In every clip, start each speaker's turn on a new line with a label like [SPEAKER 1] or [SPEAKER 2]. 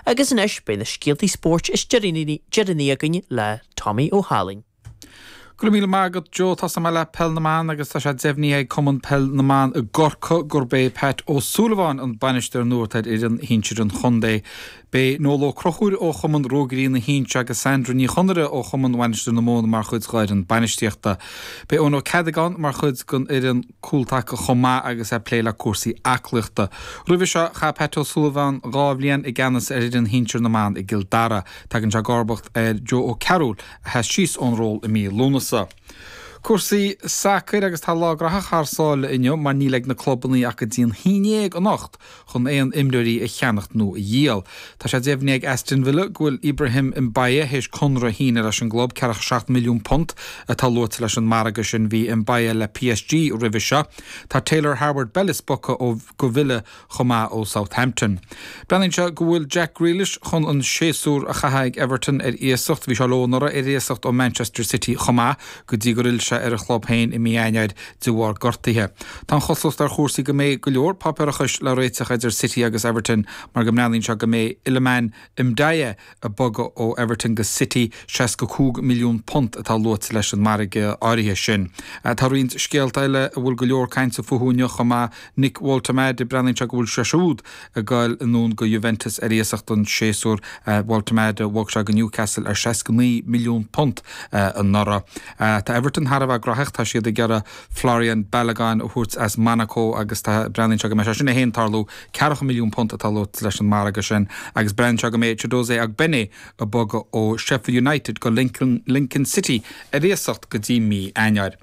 [SPEAKER 1] Agus anois beidh na scéaltaí spóirt is deireanaí againn le Tommy Ó hAlainn.
[SPEAKER 2] Go raibh míle maith agat Joe. Tosóidh mé le Peil na mBan agus tá sé deimhnithe ag Cumann Peil na mBan i gCorcaigh gurb é Pat Ó Súilleabháin an bainisteoir nua atá ar fhoireann shinsir an chontae. Beidh Noel Ó Conchúir ó Chumann Ruagairí na hInse agus Sandra Ní Chonaire ó Chumann Mhainistir na Móna mar chuid d'fhoireann bainistíochta. Beidh Eoin Ó Ceadagáin mar chuid den fhoireann cúltaca chomh maith agus é ag plé le cúrsaí aclaíochta. Roimhe seo, chaith Pat Ó Súilleabháin 2 bhliain i gceannas ar fhoireann shinsir na mban i gCill Dara. Tagann sé i gcomharbacht ar Joe Ó Cearúil a sheas síos ón ról i mí Lúnasa. Cúrsaí sacair agus tá lá graitheach thar sáile inniu mar níl ag na clubannaí ach go dtí an haon dhéag anocht chun aon imreoirí a cheannacht nó a dhíol. Tá sé deimhnithe ag Aston Villa go bhfuil Ibrahim Mbaye théis conradh a shíneadh leis an gclub, 47 milliún punt atá luaite leis an margadh sin. Bhí Mbaye le PSG roimhe seo. Tá Taylor Harwood-Bellis bogtha ó go Villa chomh maith ó Southampton. Breathnaíonn sé go bhfuil Jack Grealish chun an séasúr a chaitheamh ag Everton ar iasacht. Bhí sé leo anuraidh ar iasacht ó Manchester City chomh maith go dtí gur fhill sé ar a chlub féin i mí Eanáir de bharr gortaithe. Tá an chosúlacht ar chúrsaí go mbeidh go leor páipéarachais le réiteach idir City agus Everton mar go mbreathnaíonn sé go mbeidh Iliman Ndiaye ag bogadh ó Everton go City, £65 milliún atá luaite leis an margadh áirithe sin. Tá roinnt scéalta eile a bhfuil go leor cainte fúthu inniu chomh maith, Nick Woltemade, breathnaíonn sé go bhfuil sé siúd ag goil anonn go Juventus ar iasacht don séasúr. Woltemade, bhog sé go Newcastle ar £69 milliún anuraidh. Tá Everton thar a bheith graitheach, tá siad ag iarraidh Folarin Balogun a thabhairt as Monaco agus tá breathnaíonn sé go mbeidh sé sin féin ag tarlú. Ceathracha milliún punt atá luaite leis an margadh sin agus breathnaíonn sé go mbeidh Chiedozie Ogbene ag bogadh ó Sheffield United go Lincoln City ar iasacht go dtí mí Eanáir.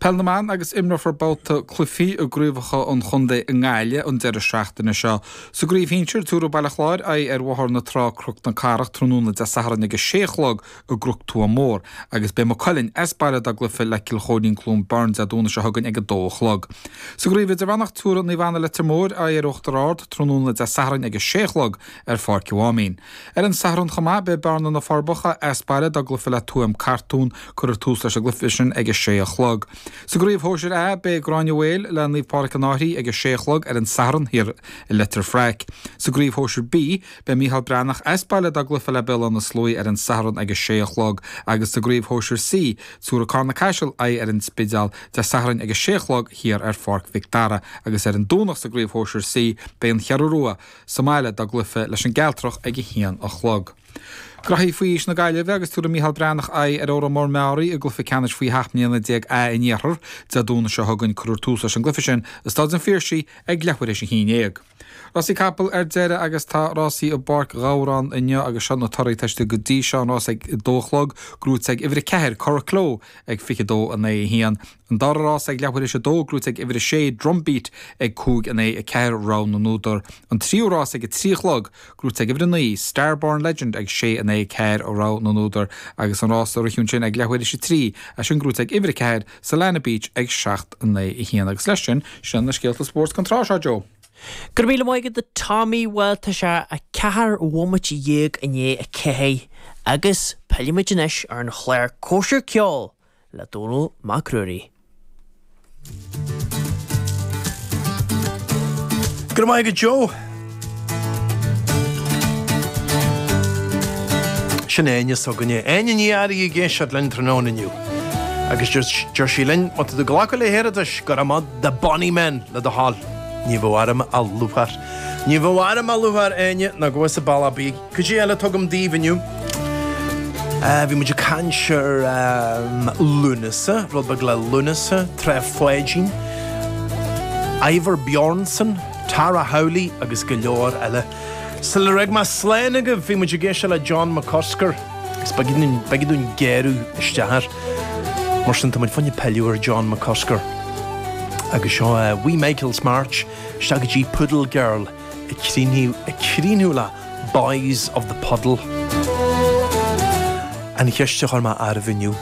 [SPEAKER 2] Peil na mBan agus imreofar babhta cluichí i gcraobhacha an chontae i nGaillimh an deireadh seachtaine seo. Sa gcraobh shinsir, tabharfaidh Baile Chláir aghaidh ar Bhóthar na Trá Cnoc na Cathrach tráthnóna Dé Sathairn ag a sé a chlog i gCnoc Tuath Mór agus beidh Maigh Cuilinn as baile dá gcluiche le Cill Chóirín Cluain Bheirn Dé Domhnaigh seo chugainn ag a dó a chlog. Sa gcraobh idirmheánach tabharfaidh Naomh Anna Leitir Móir aghaidh ar Uachtar Ard tráthnóna Dé Sathairn ag a sé a chlog ar Pháirc an Mháimín. Ar an Satharn chomh maith beidh Bearna Na Forbacha as baile dá gcluiche le Tuaim Cartún, cuirfear tús leis an gcluiche sin ag a sé a chlog. Sa gcraobh shóisir A beidh Gráinne Mhaol le Naomh Pádraig an Fhairche ag a sé a chlog ar an Satharn thiar i Leitir Fraic. Sa gcraobh shóisir B Beidh Micheál Breathnach as baile dá gcluiche le Béal Átha na Sluaighe ar an Satharn ag a sé a chlog agus sa gcraobh shóisir C, tabharfaidh Carna Caiseal aghaidh ar an Spidéal Dé Sathairn ag a sé a chlog thiar ar Pháirc Mhic Dara agus ar an Domhnach sa gcraobh shóisir C beidh an Cheathrú Rua sa mbaile dá gcluiche leis an gCealtrach ag a haon a chlog. Graithí faoi aois na Gaillimhe agus tabharfaidh Micheál Breathnach aghaidh ar Órán Mór Meáraí i gcluiche ceannais faoi sheacht mbliana déag A an Iarthair Dé Domhnaigh seo chugainn. Cuirfear tús leis an gcluiche sin i Staid an Phiarsaigh ag leathuair théis a haon dhéag. Rásaí capall ar deireadh agus tá rásaí i bPáirc Ghabhráin inniu agus seo na torthaí atá istigh go dtí seo, an rás ag 2 a chlog, gnóite ag uimhir 4, Curracloe, ag 22 9 1. An dara rás ag leathuair théis 2, gnóite ag uimhir 6, Drumbeat, ag 5 9 4, Rogha na nÚdar. An tríú rás ag 3 a chlog, gnóite ag uimhir 9, Starborn Legend, ag 6 9 4, Rogha na nÚdar. Agus an rás a rith ansin ag leathuair théis 3, é sin gnóite ag uimhir 4, Solana Beach ag 7 9 1. Agus leis sin, sin na scéalta spóirt don tráth seo, Joe.
[SPEAKER 1] Go raibh míle maith agat a Tommy, bhuel tá sé 14 bhomaite i ndiaidh 4 agus pillfimid anois ar an chlár Cóisir Ceoil le Dónall Mac Ruairí.
[SPEAKER 3] Go raibh maith agat Joe. Sin Áine s'againne. Áine Ní Fhearraigh ag éisteacht linn tráthnóna inniu. Agus deir sí linn, má tá tú ag glacadh le hiarratais, go raibh maith The Bonny Men le do thoil. Ní bheadh orm ach lúcháir. Ní bheadh orm ach lúcháir, Áine, ná go bhfios a bealach bídh. Cad é eile atá agam daoibh inniu? Bhí muid ag caint ar Lúnasa, rud beag le Lúnasa, Trá Pháidín, Ivor Bjornson, Tara Howley agus go leor eile. Sular fhág mé slán agaibh, bhí muid ag éisteacht le John McCusker agus b'éigean dúinn géarú isteach air. Mar sin, tá muid fá choinne pilleadh ar John McCusker agus seo Wee Michael's March isteach go dtí Poodle Girl ag críochnú le Boys of the Puddle. An cheist a chuir mé oraibh inniu,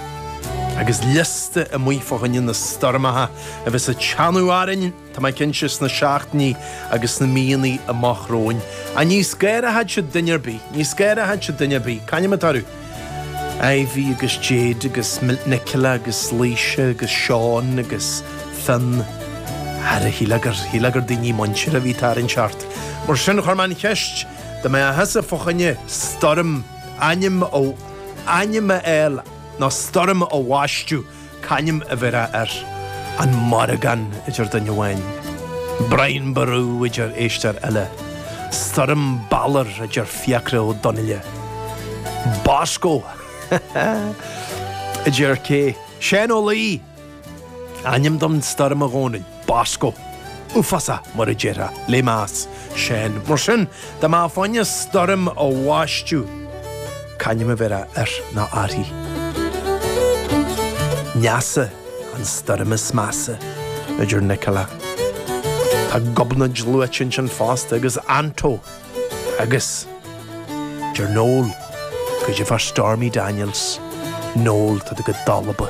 [SPEAKER 3] agus liosta amuigh fá choinne na stoirmeacha a bheas ag teannadh orainn, Tá mé cinnte sna seachtainí agus sna míonna amach romhainn. Ach ní scanróidh siad duine ar bith, ní scanróidh siad duine ar bith. C'ainm atá orthu? Ivy agus Jade agus Nicola agus Laoise agus Seán agus Fionn. Ara, shílfeá gur, shílfeá gur daoine muinteartha a bhí ag tarraingt ort. Mar sin, chuir mé an cheist. Dá mbeadh thusa fá choinne stoirm, ainm a, ainm a fháil nó stoirm a bhaisteadh, c'ainm a bhéarfá air? An Morrigan, a deir duine amháin. Brian Boru, a deir éisteoir eile. Stoirm Balor, a deir Fiachra Ó Donnaile. Bosco, a deir cé? Seán Ó Laoi! Ainm don stoirm a Dhónaill, Bosco. Uafásach, mar a déarfá, le meas, Seán. Mar sin, dá mbeifeá fá choinne stoirm a bhaisteadh, c'ainm a bhéarfá air nó uirthi? Neasa, an stoirm is measa, a deir Nicola. Tá Gobnait luaite ansin fosta, agus Anto, agus, deir Noel, goidé fá Stormy Daniels. Noel, tá tú go dalba.